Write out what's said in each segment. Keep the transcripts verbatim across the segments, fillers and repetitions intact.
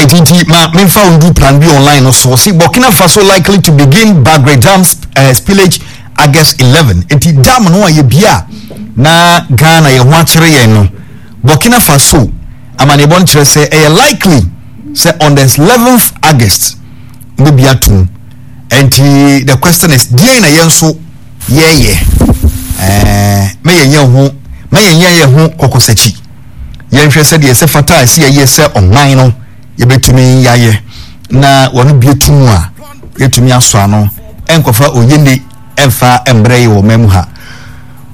Right, nti ma memfa wo ndu Plan B Online no so. See, Burkina Faso likely to begin Bagre Dam uh, spillage August eleven. Nti dam no a yɛbia na Ghana yɛ ho akyerɛ yɛn no, Burkina Faso amanneɛbɔ no kyerɛ sɛ ɛyɛ likely sɛ on the eleventh August mbɛbi atom. Nti the question is, deɛn na yɛn nso yɛyɛ? ɛɛ mɛ yɛn yɛn ho mɛ yɛn yɛn yɛn ho kɔkɔsakyi. Yɛnhwɛ sɛdeɛ ɛsɛ fata a ɛsɛ yɛyɛ sɛ ɔman no yɛbɛtumi yɛayɛ na wɔn bie tum a yɛtumi asɔ ano, ɛnkɔfa oyene ɛmfa mbrɛ yi wɔ ɔman mu ha.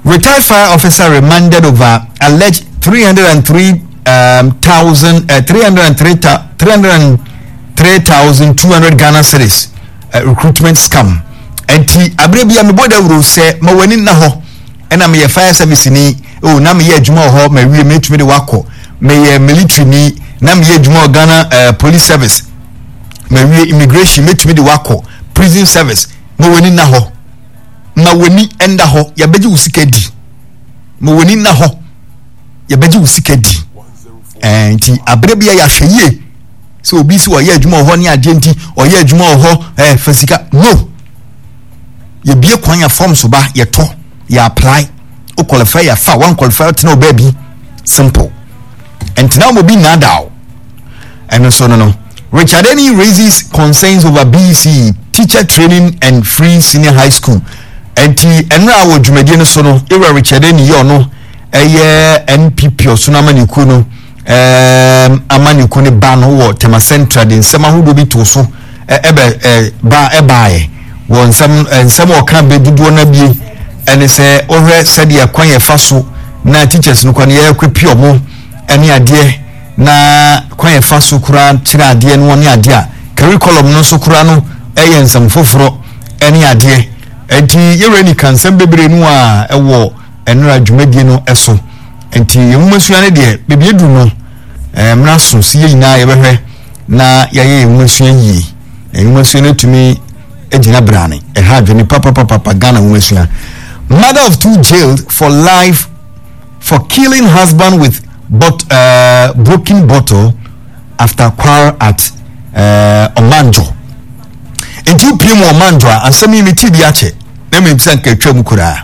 Retired fire officer remanded over alleged three hundred three um, thousand uh, three hundred three three hundred three thousand two hundred Ghana cedis uh, recruitment scam. Nti abere bi a mebɔ dawuro sɛ ma w'ani nna hɔ, ɛna meyɛ fire service ni o, na meyɛ adwuma wɔ hɔ ma wie, metumi de wakɔ. Meyɛ military ni na meyɛ adwuma wɔ Ghana uh, Police Service ma wie, immigration metumi de wakɔ, prison service. Ma w'ani nna hɔ, ma w'ani nda hɔ, yɛbɛgye wo sika di. Ma w'ani nna hɔ, yɛbɛgye wo sika di. ɛɛ nti abere bi a yɛahwɛ yie sɛ obi si ɔyɛ adwuma wɔ hɔ ne adeɛ, nti ɔyɛ adwuma wɔ hɔ ɛɛ fa sika no, yɛbie kwan yɛ form so ba, yɛtɔ, yɛ apply, o qualify yɛ fa, one qualify tena o baabi, simple. Ntina wɔn obi nnaada o. Ɛno nso no no Richard Eni raises concerns over B E C E teacher training and free senior high school. Nti ɛnura wɔ dwumadie no so no, ewura Richard Eni yɛ ɔno ɛyɛ N P P ɔsono amanikuo no ɛɛm amanikuo no ba no wɔ Tema Central, de nsɛm ahodoɔ bi to so ɛbɛ ɛ ba ɛbaayɛ wɔ nsɛm nsɛm a ɔka bɛ dodoɔ no abie ɛne sɛ ɔhwɛ sɛdeɛ kwan yɛ fa so na teachers no kwan yɛ kɔ pi ɔmo ɛne adeɛ, na kwan yɛ fa so koraa kyerɛ adeɛ no ne adeɛ a curriculum no nso koraa no ɛyɛ nsɛm foforɔ ɛne adeɛ. Nti yɛwura ni ka nsɛm bebree no a ɛwɔ ɛnora dwumadie no ɛso. Nti yɛn nwoma sua no deɛ, beebi edu no, ɛɛ mmara so si yɛ nyinaa yɛbɛhwɛ na yɛayɛ yɛn nwoma sua yie. Yɛn nwoma sua no tumi gyina brane ɛha adwene papapapapa. Ghana nwoma sua. Mother of two jailed for life for killing husband with but, uh, broken bottle after quarrel at uh, Ɔmanjo. Nti wopie mu Ɔmanjo a, asɛm yi meti bi akyɛ na mmom sɛ nka atwa mu koraa.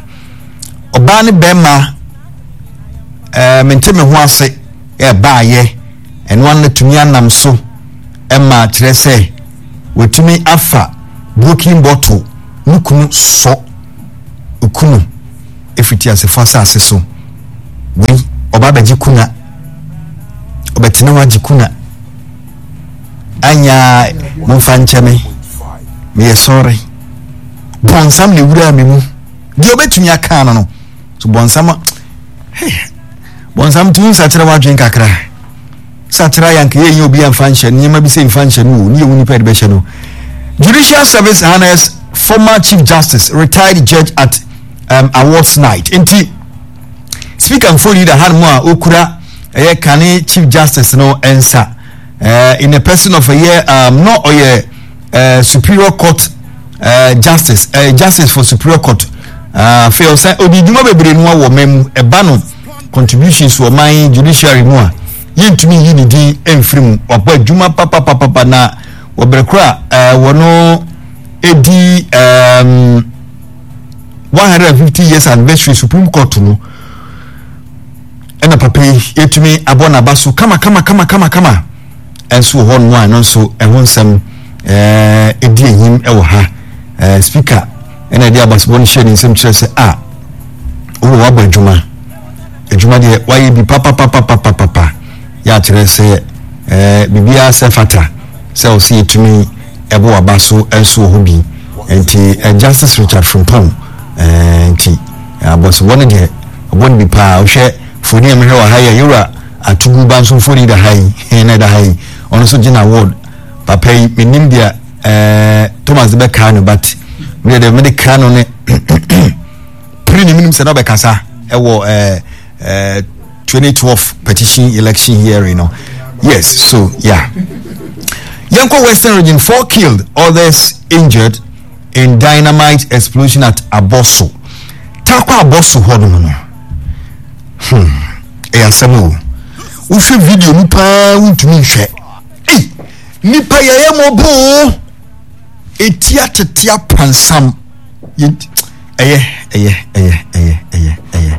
Ɔbaa ne bɛrima ɛɛ mente me ho ase ɛbaayɛ, ɛno ano tumi anam so ɛma kyerɛ sɛ wɔtumi afa broken bottle ne kunu sɔ okunu efiti asefo asase so. Wei ɔba abɛgye kuna, ɔbɛtena hɔ agye kuna anya. Momfa nkyɛ me, meyɛ sɔre, bɔnsam na ewura me mu deɛ ɔbɛtumi aka no no so. Bɔnsam, hey, bɔnsam tumi nsakyerɛ wadwen kakra sakyera yɛ anka yɛnyɛ obi amfa nhyɛ nneɛma bi sɛ mfa nhyɛ no o ne yɛwu nipa yɛde bɛhyɛ no. Judicial Service honours former Chief Justice, retired judge at um, awards night. Nti speaker mfoni da hanom a okura ɛyɛ kane Chief Justice no nsa uh, in the person of ɛyɛ um, no ɔyɛ uh, Superior Court uh, justice, uh, justice for Superior Court. Afei uh, ɔsɛ ɔdi dwuma bebree no wɔ ɔman mu, ɛba no contributions wɔ ɔman judiciary mu a yɛntumi yi ne din mfiri mu. Wabɔ adwuma papapapapa na wɔbrɛ koro a wɔno edi um, one hundred and fifty years anniversary Supreme Court no, ɛna papa yi yɛtumi abɔ n'aba so kama kama kama kama kama. Ɛnso wɔ hɔ nom a, ɛno nso ɛho nsɛm ɛɛ edi enyim ɛwɔ ha. ɛɛ speaker ɛna ɛde abasobɔ no hyɛ ne nsam kyerɛ sɛ a owó wabɔ adwuma, adwuma deɛ wayɛ bi papapapapapa, yɛ akyerɛ sɛ ɛɛ biribiara sɛ fata sɛ ɔsɛ yɛtumi ɛbɔ waba so ɛnso wɔ hɔ bi. Nti ɛ Justice Richard Frimpong ɛɛ nti abɔsobɔ no deɛ ɔbɔ no bi paa. Wohwɛ foni a mehwɛ wɔ ha yɛ yɛwura Atugu ba nso mfoni da ha yi na ɛda ha yi, ɔno nso gyina award papa yi. Menim deɛ ɛɛ Thomas de bɛkaa no, but mede deɛ mede kaa no ne piri ne menim sɛ na ɔbɛkasa ɛwɔ ɛɛ ɛɛ twenty twelve petition election hearing no. Yes, so yeah, yɛnkɔ Western Region. Four killed, others injured in dynamite explosion at Aboso. Takwa Aboso hɔ nom no, hmm ɛyɛ asɛm o. Wohwɛ video no paa, wontumi nhwɛ. Ei, Nipa yɛyɛ mɔboo, eti atete apansam. Ɛyɛ ɛyɛ ɛyɛ ɛyɛ ɛyɛ ɛyɛ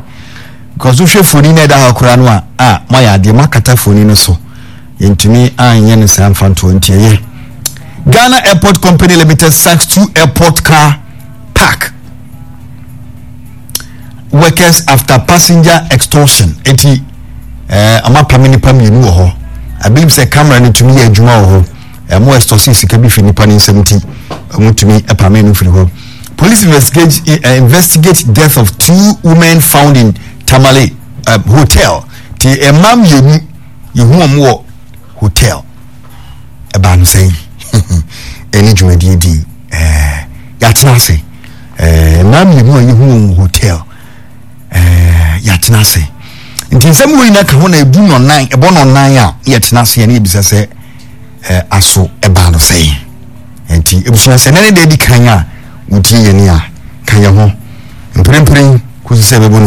because wohwɛ foni na ɛda hɔ koraa no a a moayɛ adeɛ, moakata foni no so, yɛntumi anyɛ no saa mfa ntoɔ, nti ɛyɛ. Ghana Airport Company Limited sacks two airport car park workers after passenger extortion. Eti ɛɛ ɔmo apam nipa mmienu wɔ hɔ. I believe sɛ camera no tumi yɛ adwuma wɔ hɔ. Ɛmo extortion sika bi fi nipa ne nsam, ti ɔmo tumi ɛpam no firi hɔ. Police investigate uh, investigate death of two women found in Tamale uh, hotel. Ti mmaa mmienu yehu wɔn wɔ hotel. Ɛbaa no sɛn? Ɛne dwumadie di ɛɛ yɛatena ase. ɛɛ mmaa mmienu a yehu wɔn wɔ hotel, ɛɛ yɛatena ase. Nti nsɛm wo nyinaa ka ho na ebu nɔnan ɛbɔ nɔnan a yɛtena ase yɛne ebisa sɛ ɛɛ aso ɛbaa no sɛn? Nti ebusua, sɛ nane deɛ di kan a wotie yɛn a, ka yɛn ho mprempren kɔsi sɛ ɛbɛbɔ no.